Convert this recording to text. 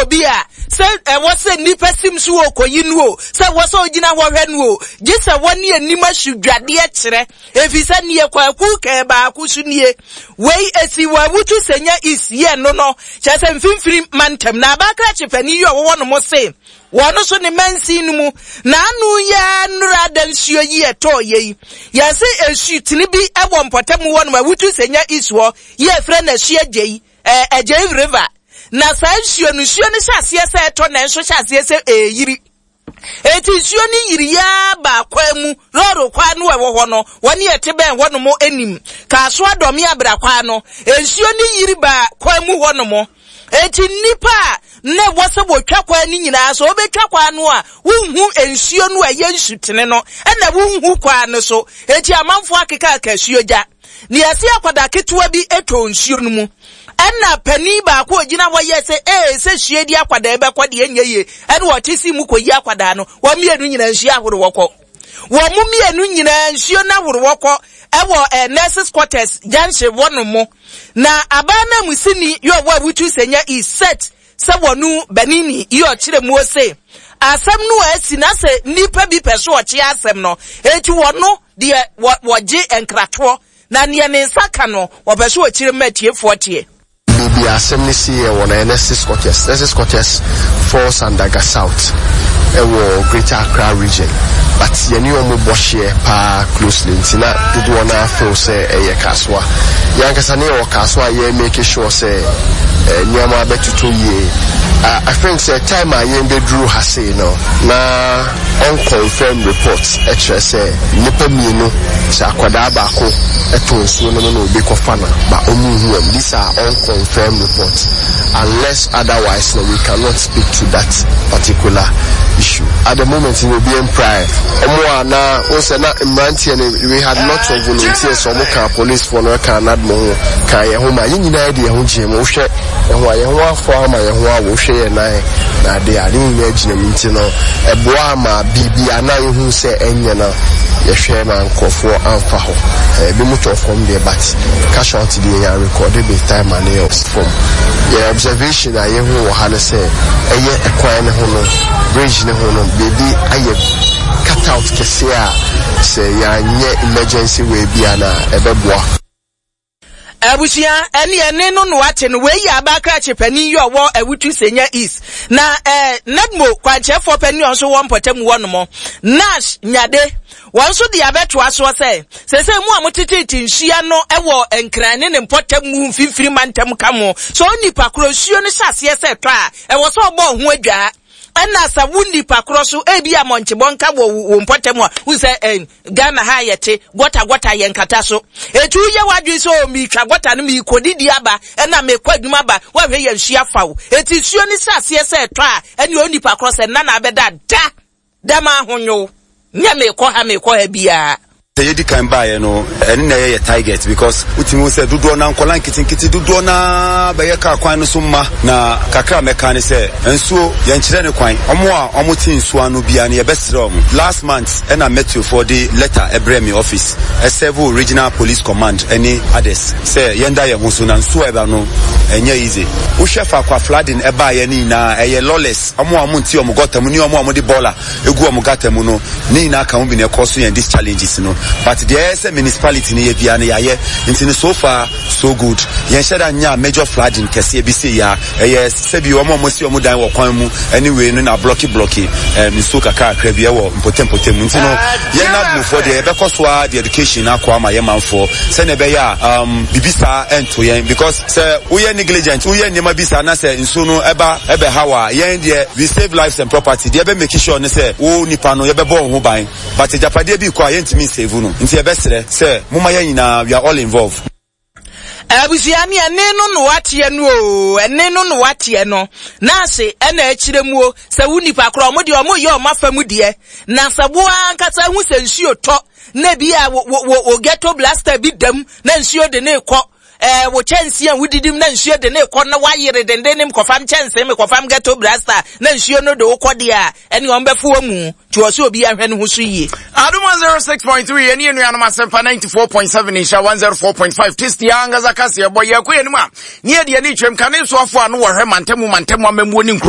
obi a, sɛ ɛwɔ sɛ nnipa sim so wɔ kɔyi no o, sɛ ɛwɔ sɛ ɔgyina hɔ hwɛ no o, gye sɛ wɔne anim asodwadeɛ kyerɛ, ɛfiri sɛ neɛ kwaku kɛɛ baako so nie. Wei ɛsi wɔ Awutu Senya East yɛ no no, kyerɛ sɛ mfimfini mantam. Na abakrakye panin yi ɔwɔ hɔ nom se, wɔn nso ne mansin no mu, na ano yi ara nnora da nsuo yi ɛtɔɔ yɛ yi, yɛse nsutene bi wɔ mpɔtam hɔ nom, Awutu Senya East hɔ, yi a ɛfrɛ no Asuagyei, eh, Agyei River. Na saa nsuo no, nsuo no hyɛ aseɛ sɛ ɛtɔ nanso hyɛ aseɛ sɛ ɛreyiri. Enti nsuo no yiri yaa baa kwan mu, lɔɔre kwan no a ɛwɔ hɔ no, wɔne ɛte bɛn hɔnom anim. Kaasoa Dɔme Abra kwan no, nsuo no yiri baa kwan mu hɔnom. Enti nnipa a na ɛwɔ sɛ wɔtwa kwan no nyinaa, sɛ wɔbɛtwa kwan no a, wonhu nsuo no a ɛyɛ nsutene no, ɛna wonhu kwan no so. Enti amanfoɔ akekaaka asuogya. Nea ɛse akwadaa ketewa bi tɔɔ nsuo no mu. Ɛna panin baako a ɔgyina hɔ yɛɛ sɛ ee sɛ sue di akwadaa yi bɛkɔ deɛ ɛnyɛ yie. Ɛna ɔte si mu kɔyi akwadaa no. Wɔn mmienu nyinaa nsuo ahoroɔ kɔ. Wɔn mmienu nyinaa nsuo no ahoroɔ kɔ ɛwɔ eh, nurses quarters junction hɔ nom mo. Na abaa no amusini yɛ ɔwɔ Awutu Senya East set sɛ wɔn banini yɛ ɔkyerɛ muo se asɛm no a asi na sɛ nnipa bi pɛ so ɔkye asɛm no eti wɔno Deɛ wɔ, wɔgye nkratoɔ, na neɛ ne nsa ka no, wɔpɛ sɛ wɔkyerɛ mu ma atiefoɔ teɛ. Baabi a asɛm no siiɛ wɔ no ɛyɛ Nurses Quarters, Nurses Quarters falls under Ga South ɛwɔ Greater Accra Region but yɛne wɔn bɔ hyeɛ paa closely nti na dodoɔ no ara feel sɛ ɛyɛ Kasoa. Yɛn ankasa ne yɛwɔ Kasoa a yɛ make sure sɛ nneɛma bɛtotɔ yie. I think sɛ time a yɛn bɛduru ha sei no na Unconfirmed reports kyerɛ sɛ nnipa mmienu, sɛ akwadaa baako tɔ nsuo no mu na obi kɔfa no but wɔn nhu wɔn. These are unconfirmed reports. Unless otherwise no we cannot speak to that particular issue. At the moment no obi mpirae. Wɔn a na wohu sɛ na mmeranteɛ no we had lots of volunteers wɔn kaa policefoɔ no kaa NADMO ho kaa yɛn ho ma yɛn nyinaa de yɛn ho gyee mu. Wohwɛ Ɛho a yɛn ho afɔ ama yɛn ho awo hwɛ yɛn nan na ade a ne nyinaa gyina mu nti no ɛboa ma biribi a na yɛhu sɛ ɛnyɛ no yɛhwɛ ma nkurɔfoɔ amfa hɔ. Ebi mu tɔ fam deɛ but casualty deɛ yɛn rekɔde be time a ne yɛ fam. Yɛn observation a yɛhu wɔ ha ne sɛ ɛyɛ ɛkwan ne ho no bridge ne ho no baabi ayɛ cut out kɛseɛ a sɛ yɛanyɛ emergency way bi a na ɛbɛboa. Abusua, ɛne ɛne no na wate no. Wei yɛ abaa krakye panin yi ɔwɔ Awutu Senya East. Na eh, NADMO kwankyerɛfoɔ panin ɔnso wɔ mpɔtam hɔ nom, Nash Nyade. Wɔn nso de abɛtoa soɔ sɛ, sɛsɛ mu a moteteete nsuo ano wɔ Nkran ne ne mpɔtam mu mfimfini mantam ka mo. Sɛ onipa korɔ nsuo no hyɛ aseɛ sɛ ɛtɔ a, ɛwɔ sɛ ɔbɔ ho adwaa. Ɛna sɛ wo nipa korɔ so ebi a mɔnkyebɔnka wɔ wo mpɔtam a, wohu sɛ eh, Ghana ha a yɛte, gɔta gɔta yɛ nkata so. Eti woyɛ w'adwene sɛ oh meretwa gɔta no merekɔdidi aba ɛna merekɔ adwuma aba, woahwɛ yɛ nsuo afa wo. Eti nsuo no hyɛ aseɛ sɛ ɛtɔ a, ɛne onipa korɔ sɛ nna na abɛda da dɛm ahonyow. Nyɛ merekɔ ha merekɔ ha biara. Sɛ yɛdi kan baeɛ no, ɛne na ɛyɛ yɛ target because wotumi hu sɛ dodoɔ no ara nkwadaa nketenkete dodoɔ no ara bɛyɛ kaa kwan no so mma. Na kakra a mɛka ne sɛ nsuo yɛnkyerɛ ne kwan. Wɔn a wɔte nsuo ano biara no yɛbɛsrɛ wɔn. Last month ɛna Metro foɔ de letter ɛbrɛɛ me office ɛsɛvo regional police command ɛne others sɛ yɛnda yɛn ho so na nsuo a ɛba no ɛnyɛ easy. Wohwɛ faako a flooding ɛbaeɛ no nyinaa ɛyɛ lawless, wɔn a wɔnte wɔn gutter mu ne wɔn a wɔde bɔɔla egu wɔn gutter mu no ne nyinaa ka ho bi na ɛkɔ so yɛn these challenges no but deɛ ɛyɛ sɛ municipality no yɛ biara no yɛayɛ nti no so far so good yɛnhyɛ da nyaa major flooding kɛseɛ bi sei a ɛyɛ sɛbi wɔn a wɔasi wɔn dan wɔ kwan mu ɛne wei no na blɔki blɔki ɛm nsuo kakrakra bi ɛwɔ mpɔtam mpɔtam nti no yɛn nadmofoɔ deɛ yɛbɛkɔ so ara de education akɔ ama yɛn manfoɔ sɛnea ɛbɛyɛ a um, bibi saa ɛnto yɛn because sɛ woyɛ negligent woyɛ nneɛma bi saa na sɛ nsuo no ɛba ɛbɛhaw a yɛn deɛ we save lives and property deɛ ɛbɛ make sure ne sɛ wo nipa no yɛbɛbɔ wo ho ban but agyapadeɛ bi kɔ a yɛntumi nsave no nti yɛbɛsrɛ sɛ momma yɛn nyinaa we are all involved. Abusua ne ɛne no na wateɛ no oo, ɛne no na wateɛ no. Nurse ɛna ɛkyerɛ mu o, sɛ wo nipa korɔ ɔmo deɛ ɔmo yɛ ɔmo afa mu deɛ, na sɛ wo ankasa hu sɛ nsuo tɔ na ebi a wo wo wo ghetto blaster bi dam na nsuo de ne kɔ, ɛɛ wo kyɛnsee a wodidi mu na nsuo de ne kɔ na wayere denden ne mekɔfam kyɛnsee mekɔfam ghetto blaster na nsuo no de wo kɔ deɛ a, ɛne wɔn bɛfo wɔn mu nti wɔ sɛ obi ahwɛ ne ho so yie. Adum 106.3 yɛne yɛn nuanom asɛmpa 94.7 nhyɛ 104.5 tasty ankasa kaseɛ bɔ yɛkɔ yɛn mu a ne yɛde ani twam kane nsoafo a no wɔhwɛ mantamu mantamu amammuo ne nkuro.